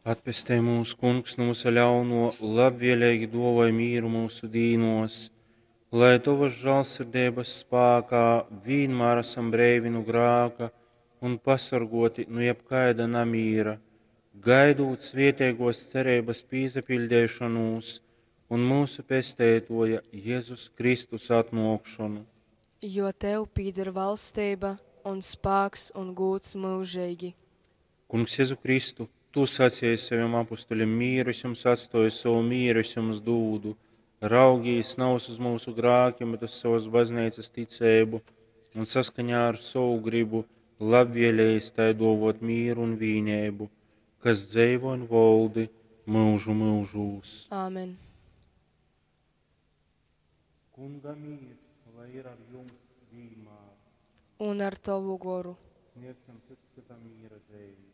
Atpestej mūs, Kungs, nu vysa ļaunuo, labvieleigi duovoj mīru myusu dīnuos, lai Tovys žālsirdeibys spākā vīnmār asam breivi nu grāka un pasorguoti nu jebkaida namīra, gaidūt svieteiguos cereibys pīsapiļdeišonūs un myusu Pesteituoja Jezus Kristus atnuokšonu. Jo Tev pīdar valsteiba un spāks un gūds myužeigi. Kungs Jezu Kristu, Tu saceji sovim apustulim, mīru es jums atstoju, sovu mīru es jums dūdu. Raugīs navys uz myusu grākim, bet uz sovas bazneicas ticeibu un saskaņā ar sovu gribu labvēlējies tai duovot mīru un vīneibu, kas dzeivo un voldi myužu myužūs. Āmen. Kunga mīrs, lai ir ar jums vīnmār. Un ar Tovu goru. Sniegsim cits cytam mīra zeimi.